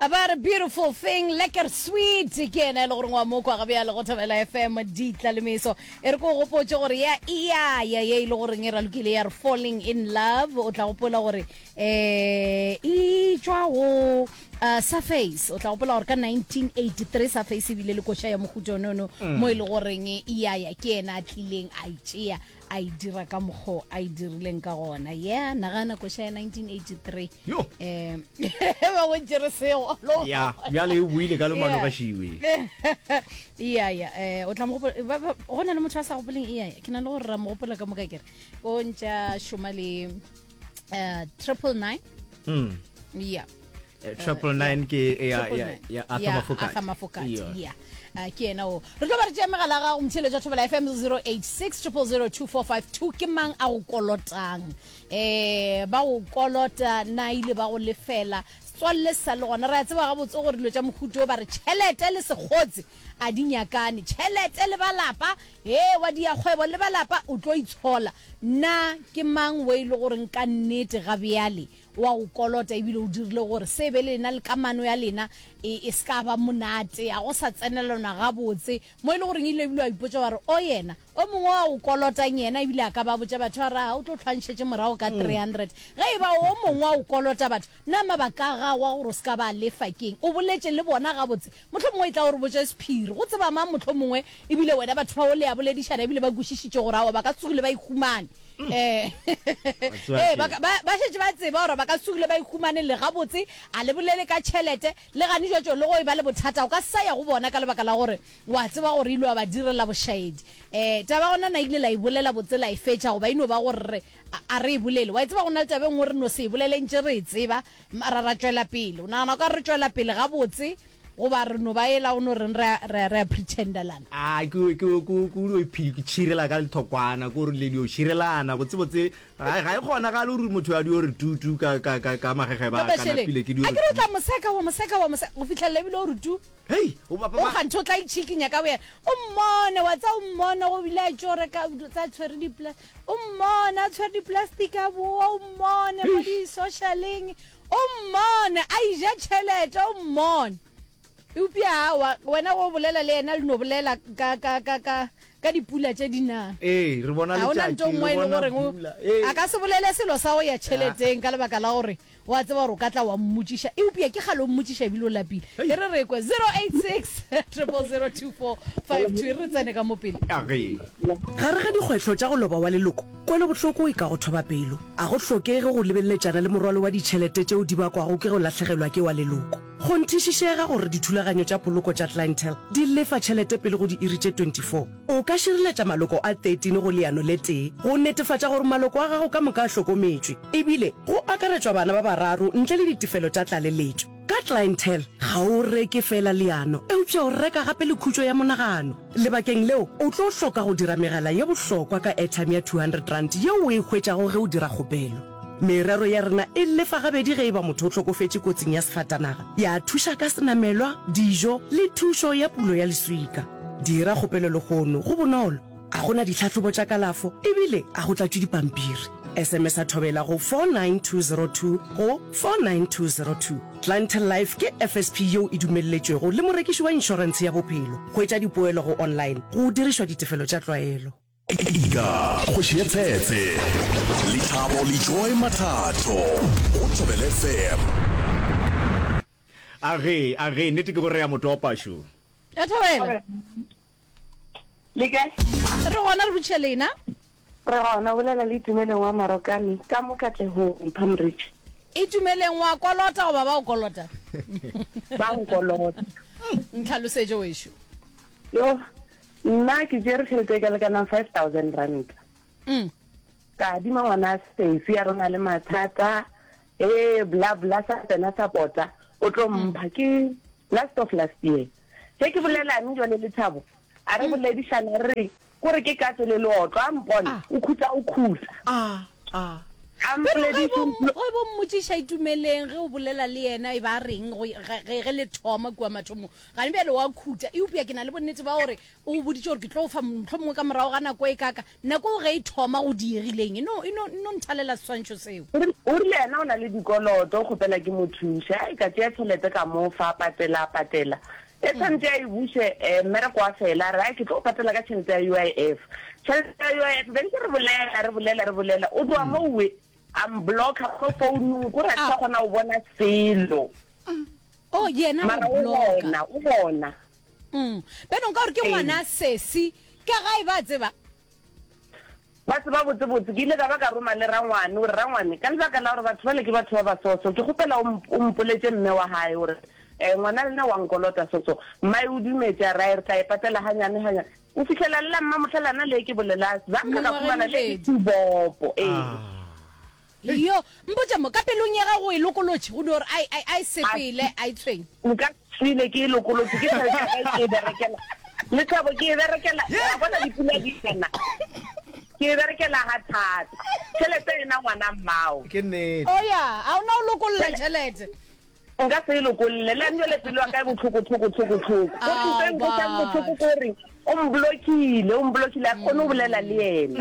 About a beautiful thing, lekker sweet ke yena e le goreng wa mokwa ga bjale go Thobela FM ditla le meso. E re ko gopotše gore ya iya ya ye e le goreng e ralokile ya re falling in love o tla gopola gore eh e tšwa go uh, Surface o tla gopola gore ka 1983 Surface e bile le koša ya mohuta onono mo e le goreng iya ya ke yena a tlileng a e tšea a e dira ka mokgo a e dirileng ka gona yeah nagana koša ya 1983 Yo. um ba go tšere sego ya bjale e buile ka lomano ga šiwe ya ya um o tla mo gopola ba- ba- go na le motho a sa gopoleng iya ke na le gore ra mo gopola ka moka kere o ntša šoma le um 999 Mm. yeah Eh, 999 ke ya Triple ya nine. ya Arthur Ya, Mafokate. Arthur Mafokate, Yeah. yeah. Ah, ke yena o re tlo ba re tšea megala ya gago motheeletši wa thobela fm 086 0002452 ke mang a go kolotang um ba go kolota na ile ba go lefela setswalle se sa le gona re a tseba gabotse gore dilo tša mohuto o ba re tšhelete le sekgotse a di nyakane tšhelete le ba lapa he wa dia kgwebo le ba lapa o tlo itshola na ke mang o e le goreng ka nnete ga bjale O a go kolota ebile o dirile gore se be lena le kamano ya lena e, e se ka ba monate, a go sa tsenelanwa gabotse, mo e le goreng ile ebile wa ipotša wa re, O yena, o mongwe wa go kolotang yena ebile a ka ba botša batho a re, A o tlo hlwa nšetše morago ka 300. Ge e ba o mongwe wa go kolota batho, na mabaka a gago a gore o se ka ba lefa ke eng? O boletše le bona gabotse? Mohlomongwe e tla o re botše sephiri. Go tseba mang mohlomongwe ebile wena batho bao le a boledišana ebile ba kwešišitše gore aowa ba ka se tsogile ba ikhumane. Eh, tseba eh, ba ka- ba ba šetše ba tseba gore ba ka se tsogile ba ikhumane le gabotse, a le bolele ka tšhelete, le gane jwatšo le go e ba le bothata, o ka se sa ya go bona ka lebaka la gore wa tseba gore ile wa ba direla bošaedi. Eh, taba gona na ile la e bolela botse la e fetša goba e no ba gore re a a re e bolele? Wa e tseba go na le taba e nngwe re no se e bolele ntše re e tseba mara ra tšwela pele. O nagana o ka re re tšwela pele gabotse Goba re no ba ela o no reng re a, re a, re a pretendelana? A ke, ke, ke, ke o iphi, ke tšhirela ka lethokwana, ke gore le dio tšhirelana, botse-botse, ga, ga e kgonagale gore motho a dio re tu tu ka, ka, ka, ka magegeba Ka a ka mašeleng. napile, ke dio A re ke re o tu. tla mo seka, wa mo seka, wa mo seka, go fihlelela ebile o re tu. Hei, o ba, ba, O ba. kganthe o tla itšhikinya ka boyena. O mmone, wa tseba o mmone go bile a tšo reka tsa tshwere dipla, o mmone a tshwere di-plastic a boa, o mmone mo di-socialeng, O mmone a ija tšhelete, o mmone. Eupša aowa, wena go bolela le yena le no bolela ka, ka, ka, ka, ka dipula tše di nang. Ee, re bona Ga o na letšatši, nto nngwe re e le bona goreng o, pula. Ee. a ka se bolele selo sa go ya tšheleteng ka lebaka la gore o a tseba gore o ka tla wa mmotšiša. Eupša ke kgale o mmotšiša ebile o lapile. E re re kwe 086 000 2452 e re re tsene ka mo pele. A ge. Gare ga dikgwetlho tša go loba wa leloko, Kwelobohloko e ka go thoba pelo. A go hlokege go lebeleletšana le morwalo wa ditšhelete tšeo di bakwago ke go lahlegelwa ke wa leloko. Kgonthišišega gore dithulaganyo tša poloko tša Clientele di lefa tšhelete pele go diiri tše 24. O ka šireletša maloko a 13 go leano le tee go netefatša gore maloko a gago ka moka a hlokometšwe, ebile go akaretšwa bana ba bararo ntle le ditefelo tša tlaleletšo. Ka Clientele, ga o reke feela leano, eupša o reka gape le khutšo ya monagano. Lebakeng leo, o tlo hloka go dira megala ye bohlokwa ka airtime ya R200 yeo o e hwetšago ge o dira kgopelo. Merero ya rena e lefa gabedi ge e ba motho o hlokofetše kotsing ya sefatanaga, ya thuša ka senamelwa, dijo le thušo ya pulo ya leswika. Dira kgopelo lehono, go bonolo, ga go na ditlhahlobo tša kalafo ebile ga go tlatšwe dipampiri. SMS-a Thobela go 49202 go 49202. Clientele Life ke FSP yeo e dumelletšwego le morekiši wa inšorentshe ya bophelo. Hwetša dipoelo go online go dirišwa ditefelo tša tlwaelo. Ika, kgoši ya tshetse, Lethabo le Joy Mathatho go Thobela FM. A ge, a ge, nnete ke gore re a mo topa šo. Ya Thobela. Le kae? Re gona re botšiša lena. Re gona, o bolela le Itumeleng wa Marokane ka mo Katlehong, Palm Ridge. Itumeleng, wa kolota goba ba o kolota? Ba nkolota. Ntlhalosetše wešo. Yo, nna ke tšere tšhelete e ka lekanang 5000 rand. Mm. Ka adima ngwana sesi a re o na le mathata, ee bla bla sa tsena sa pota, o tlo mpha ke last of last year. Ge ke bolelane jwale le Thabo, a re boledišana re re, Kore ke katse le leotlo, a mpone, o khutsa o khutsa. A, a. A Bjalo ge mpolediše bo mplo. ge bo mmotšiša Itumeleng ge o bolela le yena e ba reng go ge ge ge le thoma kua mathomong. Gane bjale wa khuta eupša ke na le bonnete ba gore o go boditše gore ke tlo go fa mohlomongwe ka morago ga nako e kaka. Nako eo ge e thoma go diegileng e no e no e no nthalela seswantšho seo. O rile o rile yena o na le dikoloto o kgopela ke mo thuše. Ai ka tšea tšhelete ka mo fa a patela a patela. E tshwanetše a e buše eh, mmereko wa fela a re ai ke tlo go patela ka tšhelete ya UIF. Tšhelete ya UIF be ntse re bolela re bolela re bolela o tloga moo a mblocka mo founung kore a ke sa kgona go bona selo. Oh yena Mara go o blocka. gona o gona. Mm. Bjanong ka gore ke Ee. ngwana sesi ka gae ba tseba. Ba tseba botsebotse. Ke ile ka ba ka roma le rangwane gore, Rangwane, ka lebaka la gore batho bale ke batho ba basoso, ke kgopela o o mpoletše mme wa gae gore um ngwana lena wa nkolota soso. Mmae o dumetše, a re, Ai, re tla e patela ganyane ganyane. O fihlela le la mmamohlelana le ke bolela, zanka ka Mengwaga e humana le mebedi. sebopo. Ee. Yo, mpotše mo, ka pelong ya gago o e lokolotše, go dio re a, a, a e sepele, a e tshwenye. Nka swile ke e lokolotše, ke tšhelete ya ka ke e berekela. Lethabo ke e berekela, wa bona dipula di ena. Ke e berekela ga thata. Tšhelete ena ngwana mmao. Ke nnete. Oh ya, a o na o lokolola tšhelete. Nka se e lokolle. Le nna pelo ya ka e bohloko tlhoko tlhoko tlhoko. Go Ao, ntho e nkwešang bohloko batho. ke gore o mblokile, o mblokile a ke kgone go bolela le yena.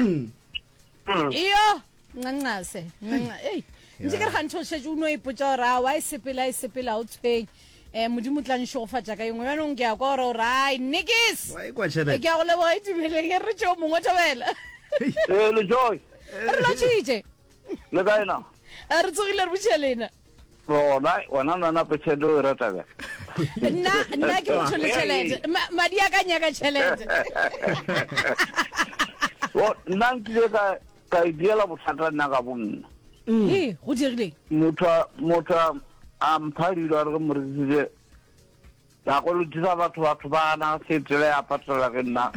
Iyo, ncancase, ncanca, ei. Ntše ke re gantši o šetše o no ipotša gore aowa e sepela e sepela o tshwenye. Um Modimo o tla nšegofatša ka engwe. Bjanong ke a kwa gore o re ai nikis. Wa ekwa tšhelete. Ke a go leboga Itumeleng, e re tšeo mongwe thobela. Ee, le Joy. Re lotšhitše. Le kae na? Re tsogile re botšiša lena. Gona, wena nna nape tšhelete o e rata bjang? Nna, nna ke motho le tšhelete. Ma, madi a ka nyaka tšhelete. Bo, nna nkile ka, ka idiela bothata nna ka bonna. Ee, go diregileng? Motho, motho a mpha dilo a re ke mo rekisitse Ka kolotisa batho batho ba na se tsela ya patela ke nna.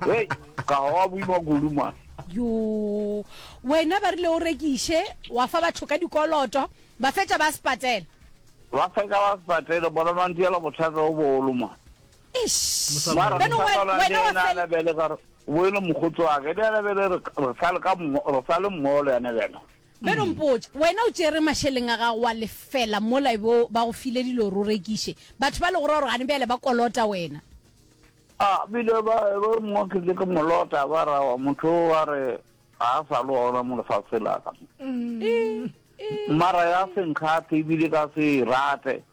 Hei, ka goga boima kudu man. Yoo, wena ba rile o rekiše, wa fa batho ka dikoloto, ba fetša ba se patela. Ba fetša ba se patele, bona ba ntiela bothata bo bogolo man. Eish. Mara Beno re sa wena le wa yena fel ana bjale ka re, bo e le mokgotsi wa ka, le yena bjale re re sa le ka mmo, re sa le mmogo le yena bjale. Beno mpotše, wena o tšere mašeleng a gago wa lefela mola e bo ba go file dilo gore o rekiše. Batho ba le go ra gore gane bjale ba kolota wena. A bile ba ba mongwe ke ile ke mo lota ba ra wa motho o wa re ga a sa le gona mo lefaseng la ka. Mara ya se nkgathe ebile ka se e rate.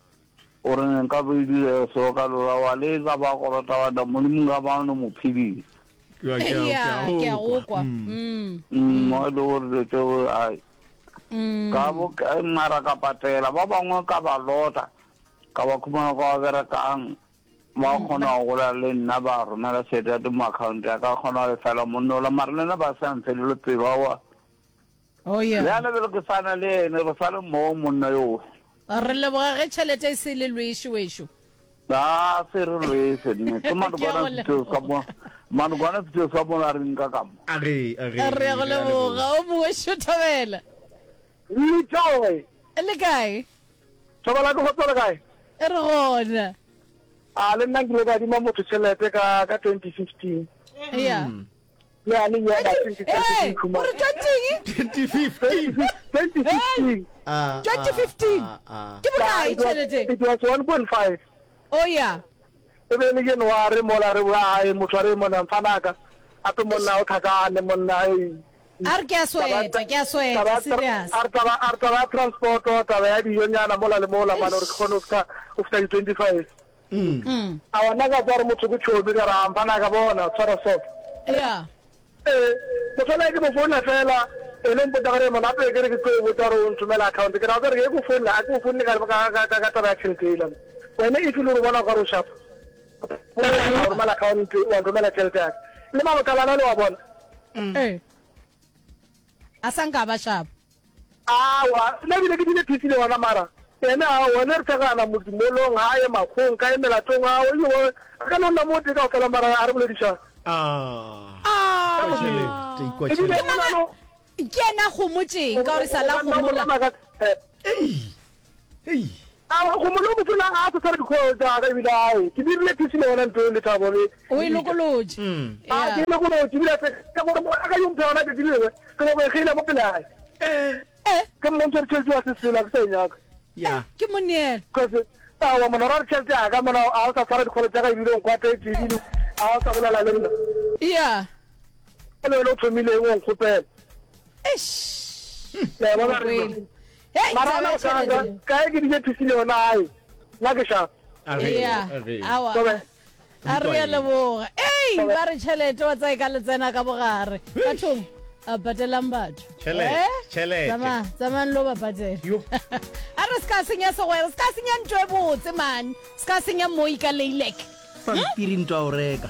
O re nka be e dire so ka lora wa le ka ba kolota wa da Modimo nka ba no mo phedisa. Ke a- ke a- Ya, ke ke a a go go kwa. kwa. Mm. Mm, mo e le gore dilo tšeo ai ka bo ka mara ka patela ba bangwe ka ba lota ka ba khumana kwa ba berekang ba kgona go bolela le nna ba romela tšhelete ya mo account ya ka kgona go lefela monna ola mara le nna ba sa mfelele pelo aowa Oh yeah. Bjale bjale ke sa na le ene, re sa le mmogo monna yoo. Re leboga ge tšhelete e se le lweshe wešo. A se re lweshe nne. Ke Ke a manokwana go setšo sa mo. leboga. Manokwana setšo sa mo la re nka ka mo. A ge, a ge, Re a go re a leboga. leboga. O mongwe šo Thobela. Letšoe. Le kae? Thobela ke kgotso le kae? Re gona. A le nna nkile ka adima motho tšhelete ka ka 2015. Yeah. Le a le nyaka Hey, o re 20 2015. 2015. Ah, 2015. ah, ah, Ke bokae tšhelete? It was 1.5. Oh yeah. E be e le January mola re boa gae motho a re monna mfanaka ape monna o tlhakane monna ei. A re ke a sweta, ke a sweta, serious. A re taba a re taba ya transport taba ya dijonyana mola le mola mane gore ke kgone go fihla go fihla di 25. Aowa nna ka kwa gore motho ke tšhomi ka re a mfana ka bona tshwara soft. Yeah. Ee, motho ola ke mo founela fela ene o mpotsa gore mona gape ke re ke tlo botsa gore o nthomela account ke ra gore ke go founela a ke go founele ka ka ka ka taba ya tšhelete ela wena if e le gore o bona gore o sharp o romela account wa nromela tšhelete ya ka le mabotalana le wa bona. Ee. A sa nka ba sharp. Aowa, nna ebile ke bile busy le yona mara yena aowa, ne re thekgana modimolong, gae, makgong, kae, melatong, aowa, ebile wa, re ka no nna mo tee kaofela mara ga re boledišane. Ah, Ka tšhelete, ikwa Ebile tšhelete. o na le Ke yena a gomotšeng ka gore sa la gomola. Ei, ei. Aowa, gomolo o mofela a sa tshware di-call tša ka ebile ae, ke dirile busy le yona ntho eo Lethabo le. O e lokolotše. A Yeah. ke e lokolotše ebile ka gore a ka yo mpha yona tšatši le lengwe, ke nyako e kgeila mo pele gae. Eh. Ke mmontšha gore tšhelete ya se sela ke sa e nyaka. Ya. Ke moneelo. Cause aowa mona ra re tšhelete ya ka mona a o sa tshwara dikgolo tša ka ebile o nkwatetše ebile a o sa bolela le nna. Ya. Le wena o thomile eng o nkgopela. Eish. Le a bona re. Hey, Mara taba ona ya o ka tšhelete. kae ke dije thusile yona ae. Nna ke sharp. Ya. Aowa. A re a leboga. Ei, ba re tšhelete wa tsae ka letsena ka bogare. Bathong, a patelang batho. Tšhelete, Eh? tšhelete. Tsamaya, tsamayang lo ba patela. Yo. A re se ka senya segwera, se ka senya ntho e botse man. Se ka senya moi ka leilek. Pampiri ntwa o reka.